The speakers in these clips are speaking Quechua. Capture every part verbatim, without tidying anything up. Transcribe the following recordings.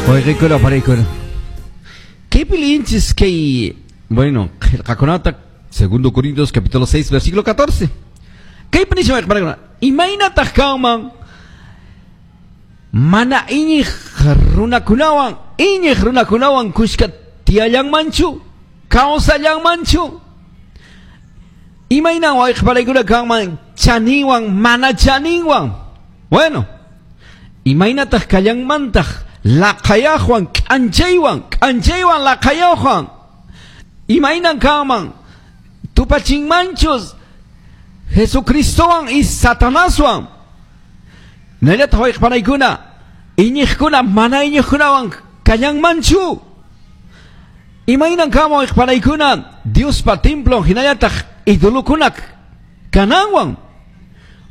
Wayqikuna panaykuna. Kaypi liyinchis kay, bueno, qillqakunata, Segundo Corintios capítulo seis versículo catorce. Kaypi nishan, wayqipanaykuna, imaynataq kanman mana iñiq runakunawan, iñiq runakunawan kushka tiyallanmanchu, kawsallanmanchu? Imaynan, wayqipanaykuna, kanman chaninwan mana chaninwan? Bueno, imaynataq kallanmantaq laqayaqwan k'anchaywan, k'anchaywan laqayaqwan? Imaynan kanman tupachinmanchus Jesucristowan y Satanaswan? Hinallataq, wayqipanaykuna, iñiqkuna mana iñiqkunawan kallanmanchu? Imaynan kanman, wayqipanaykuna, Diospa templon hinallataq idolokuna kananwan?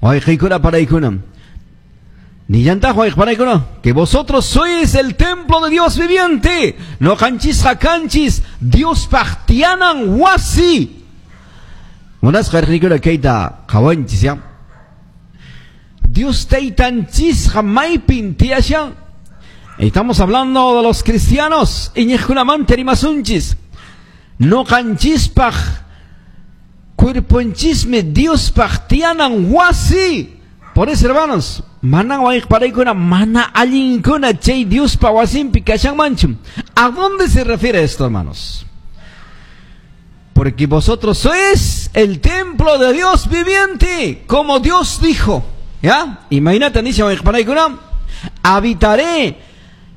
Wayqikuna panaykuna, nillantaq, wayqipanaykuna, que vosotros sois el templo de Dios viviente. Noqanchisqa kanchis Diospaq tiyanan wasi. Munasqa wayqikuna, kayta qawanchis ya. Dios taytanchisqa maypin tiyashan? Estamos hablando de los cristianos. Iñiqkunamanta rimasunchis. Noqanchispaq cuerponchismi Diospaq tiyanan wasi. Por eso, hermanos, mana, wayqipanaykuna, mana allinkuna chay Diospa wasinpi kashanmanchu. ¿A dónde se refiere esto, hermanos? Porque vosotros sois el templo de Dios viviente, como Dios dijo. ¿Ya? Imagínate, dice, wayqipanaykuna, habitaré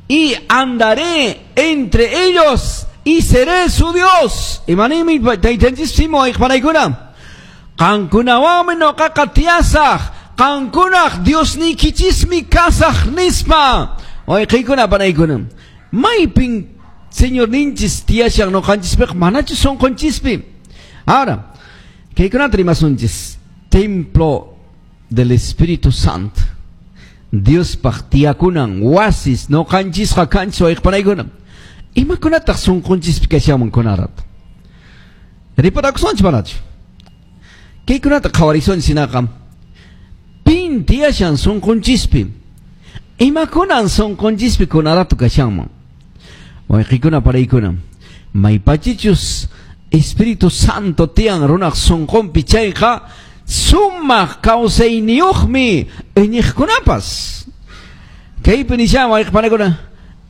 y andaré entre ellos y seré su Dios. Imanimi taytanchisimo, wayqipanaykuna? Qankunawanmi noqaqa tiyasaq, qankunaq Diosniykichismi kasaq nispa. Wayqikuna panaykuna. Maypin Señorninchis tiyashan noqanchispiqa, manachu sunqunchispi? Ahora, kaykunata rimasunchis. Templo del Espíritu Santo. Diospaq tiyakunan wasis noqanchisqa kanchis, wayqipanaykuna. Imakunataq sunqunchispi kashanman kunarato? Riparakusunchis manachu? Kaykunata qhawarisunchis hinaqa. Pin tiyashan sunqunchispi? Imakunan sunqunchispi kunarato kashanman? Wayqikuna panaykuna. Maypachichus Espíritu Santo tiyan runaq sunqunpi chayqa sumaq kawsayniyuqmi iñiqkunapas. Kaypi nishan, wayqipanaykuna,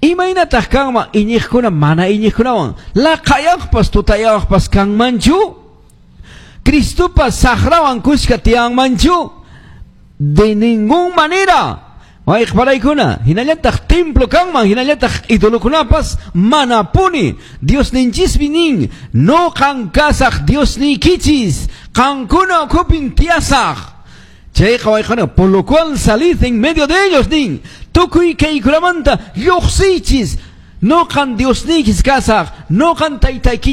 imaynataq kanman iñiqkuna mana iñiqkunawan? Laqayaqpas tutayaqpas kanmanchu? Cristopas saqrawan kushka tiyanmanchu? De ningún manera. Wayqipanaykuna, hinallataq templo kanman, hinallataq idolokunapas, manapuni. Diosninchismi nin, noqan kasaq Diosniykichis, qankuna ukhupin tiyasaq. Chayqa, wayqana, por lo cual salid en medio de ellos, nin. Tukuy kaykunamanta lluqsiychis. Noqan Diosniykichis kasaq, noqan taytaykichis